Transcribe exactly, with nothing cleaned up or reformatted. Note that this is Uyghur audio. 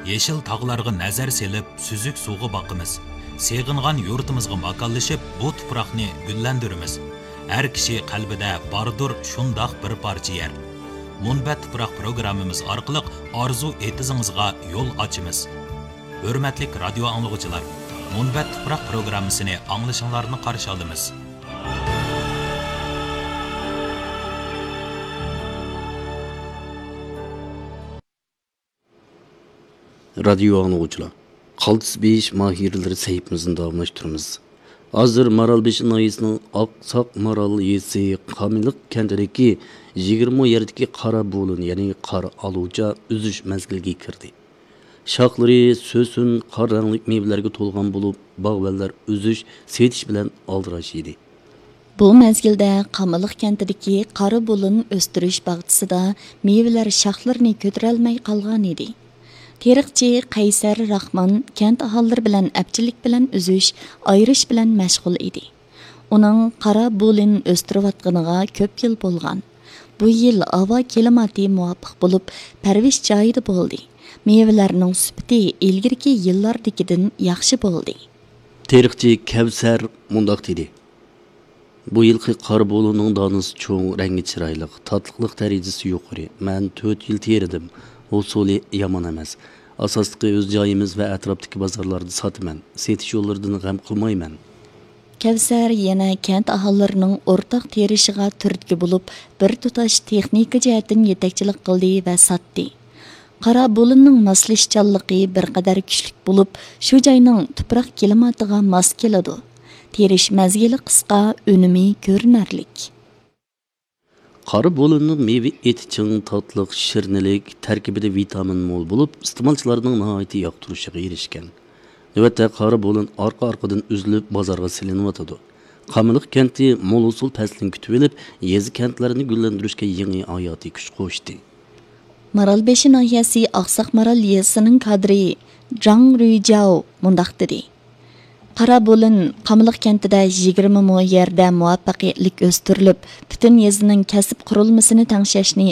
يېشىل تاغلارغا نەزەر سېلىپ، سۈزۈك سۇغا باقىمىز. سېغىنغان يۇرتىمىزغا ماكانلىشىپ، بۇ تۇپراقنى گۈللەندۈرىمىز. ھەر كىشى قەلبىدە باردۇر شۇنداق بىر پارچە يەر. مۇنبەت تۇپراق پروگراممىمىز ئارقىلىق ئارزۇ ئېتىزىڭىزغا يول ئاچىمىز. ھۆرمەتلىك رادىيو ئاڭلىغۇچىلار، مۇنبەت تۇپراق پروگراممىسىنى ئاڭلىشىڭلارنى قارشى ئالىمىز. رادىيو ئاڭلىغۇچىلار، قالتىس بېيىش ماھىرلىرى سەھىپىمىزنى داۋاملاشتۇرىمىز. ھازىر مارالبېشى ناھىيەسىنىڭ ئاقساق مارال يېزىسى قامىلىق كەنتىدىكى يىگىرمە مو يەردىكى قارا بۇلۇن، يەنى قارا ئالۇچا ئۈزۈش مەزگىلىگە كىردى. شاخلىرى سۆسۈن قارا رەڭلىك مېۋىلەرگە تولغان بولۇپ، باغۋەنلەر ئۈزۈش، سېتىش بىلەن ئالدىراش ئىدى. بۇ مەزگىلدە قامىلىق كەنتىدىكى قارا بۇلۇن ئۆستۈرۈش باغچىسىدا مېۋىلەر شاخلىرىنى كۆتۈرەلمەي قالغان ئىدى. تېرىقچى قەيسەر راخمان كەنت ئاھالىلىرى بىلەن ئەپچىللىك بىلەن ئۈزۈش، ئايرىش بىلەن مەشغۇل ئىدى. ئۇنىڭ قارا بۇلۇن ئۆستۈرۈۋاتقىنىغا كۆپ يىل بولغان. بۇ يىل ھاۋا كىلىماتى مۇۋاپىق بولۇپ، پەرۋىش جايىدا بولدى. مېۋىلەرنىڭ سۈپىتى ئىلگىرىكى يىللاردىكىدىن ياخشى بولدى. تېرىقچى كەۋسەر مۇنداق دېدى: بۇ يىلقى قارا بۇلۇننىڭ دانىسى چوڭ، رەڭگى چىرايلىق، تاتلىقلىق دەرىجىسى يۇقىرى. مەن تۆت يىل تېرىدىم. ھوسۇلى يامان ئەمەس. ئاساسلىقى ئۆز جايىمىز ۋە ئەتراپتىكى بازارلاردا ساتىمەن. سېتىش يوللىرىدىن غەم قىلمايمەن. كەۋسەر يەنە كەنت ئاھالىلىرىنىڭ ئورتاق تېرىشىغا تۈرتكە بولۇپ، بىر تۇتاش تېخنىكا جەھەتتىن يېتەكچىلىك قىلدى ۋە ساتتى. قارا بۇلۇننىڭ ماسلىشىشچانلىقى بىر قەدەر كۈچلۈك بولۇپ، شۇ جاينىڭ تۇپراق كىلىماتىغا ماس كېلىدۇ. تېرىش مەزگىلى قىسقا، ئۈنۈمى كۆرۈنەرلىك. قارا بۇلۇننىڭ مېۋە ئېتى چىڭ، تاتلىق، شىرنىلىك، تەركىبىدە ۋىتامىن مول بولۇپ، ئىستېمالچىلارنىڭ ناھايىتى ياقتۇرۇشىغا ئېرىشكەن. نۆۋەتتە قارا بۇلۇن ئارقا-ئارقىدىن ئۈزۈلۈپ بازارغا سېلىنىۋاتىدۇ. قامىلىق كەنتى مول ھوسۇل پەسلىنى كۈتۈۋېلىپ، يېزا كەنتلەرنى گۈللەندۈرۈشكە يېڭى ھاياتىي كۈچ قوشتى. مارالبېشى ناھىيەسى ئاقساق مارال يېزىسىنىڭ كادىرى جاڭ رۈيجاۋ مۇنداق دېدى: قارا بۇلۇن قامىلىق كەنتىدە يىگىرمە مو يەردە مۇۋەپپەقىيەتلىك ئۆستۈرۈلۈپ، پۈتۈن يېزىنىڭ كەسىپ قۇرۇلمىسىنى تەڭشەشنى